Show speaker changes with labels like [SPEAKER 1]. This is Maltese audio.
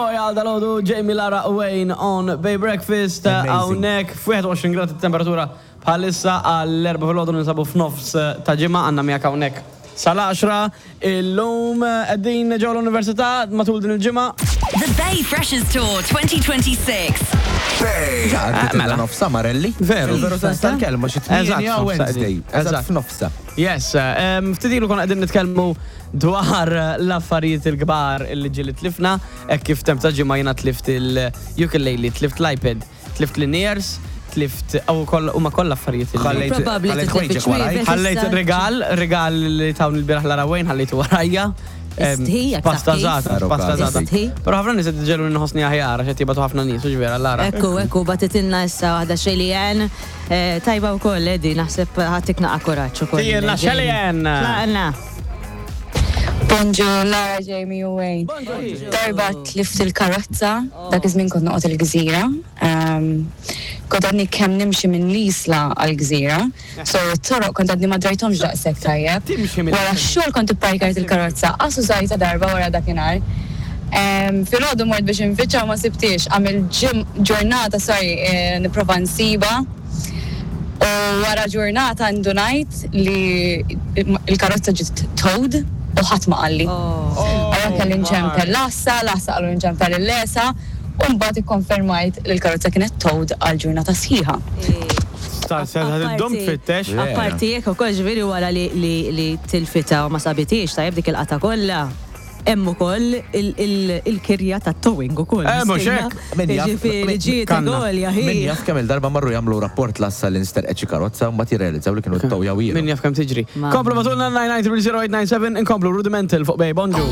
[SPEAKER 1] Għal dalodu Jamie Lara Wayne on Bay Breakfast hawnhekk f'21 grad it-temperatura bħalissa għall-4 filgħodu ninsabu f'nofs ta' ġimgħa għandna miegħek hawnhekk sal-10 illum qegħdin ġewwa l-Università matul din il-ġimgħa.
[SPEAKER 2] The Bay Freshers Tour 2026.
[SPEAKER 3] Bay!
[SPEAKER 1] Mela.
[SPEAKER 3] Nofsa Marelli.
[SPEAKER 1] Veru.
[SPEAKER 3] Veru sens tal-kelma xi
[SPEAKER 1] Eżatt,
[SPEAKER 3] 8 Wednesday. Eżatt f'nofsa.
[SPEAKER 1] Yes, ftit ilu konna qegħdin nitkellmu dwar l-affarijiet il-kbar illi ġieli tlifna, hekk kif temp ta' ġimgħa jiena tlift il-ukulele, tlift l-iPad, tlift l-in-ears, tlift u huma kollha affarijiet illi.
[SPEAKER 3] Ħallejt
[SPEAKER 4] Probabbli
[SPEAKER 3] ħallejt
[SPEAKER 4] titlef
[SPEAKER 3] ħwejġek warajk.
[SPEAKER 4] iċ-ċwievet.
[SPEAKER 1] Ħallejt rigal, rigal li tawni l-bieraħ Lara Wayne ħallejtu warajja.
[SPEAKER 4] Istħi, jekk taf
[SPEAKER 1] Pasta
[SPEAKER 4] kif.
[SPEAKER 1] żgħata, pasta żgħata.
[SPEAKER 4] Istħi.
[SPEAKER 1] Però ħafna nies qed iġegħluni nħossni aħjar għax qed jibgħatu ħafna nies, hux vera Lara?
[SPEAKER 4] Ekku, ekku, bagħtitilna issa waħda Shelly-Ann. Eh, tajba wkoll, Eddie, naħseb ħatik naqa' kuraġġ ukoll.
[SPEAKER 1] Tijilna Shelly-Ann!
[SPEAKER 4] Tlaqna!
[SPEAKER 5] Bonġu, Lara, Jamie u Wayne. Darba tlift il-karozza, dak iż-żmien kont noqgħod il-gżira. Ehm, kont għadni kemm nimxi minn l-isla għall-gżira, so t-toroq kont għadni ma drajthomx daqshekk tajjeb.
[SPEAKER 1] Timxi minn
[SPEAKER 5] Wara x-xogħol kont ipparkajt il-karozza, qas użajtha darba wara dakinhar. Ehm, filgħodu mort biex infittxha u ma sibthiex, għamilt ġim ġurnata sorry eh, nipprova nsibha. U wara ġurnata ndunajt li l-karozza ġiet towed u ħadd ma qalli. Allura kelli nċempel l-għassa, l-għassa qalu nċempel il-lesa u mbagħad ikkonfermajt li l-karozza kienet towed għal ġurnata sħiħa.
[SPEAKER 1] Ddum tfittex.
[SPEAKER 4] Apparti jekk ukoll ġifieri wara li tilfitha u ma sabitiex tajjeb dik il-qata kollha. Hemm ukoll il-kirja tat-towing ukoll.
[SPEAKER 1] Eh, mhux hekk.
[SPEAKER 3] Min jaf-
[SPEAKER 4] Jiġifieri ġiet għolja hi.
[SPEAKER 3] Min jaf kemm il-darba marru jagħmlu rapport l-għassa li nsterqet xi karozza u mbagħad jirrealizzaw li kienu ttowjaw
[SPEAKER 1] Min jaf kemm tiġri. Komplu bagħtulna 9900897 inkomplu Rudimental fuq Bay Bonġu.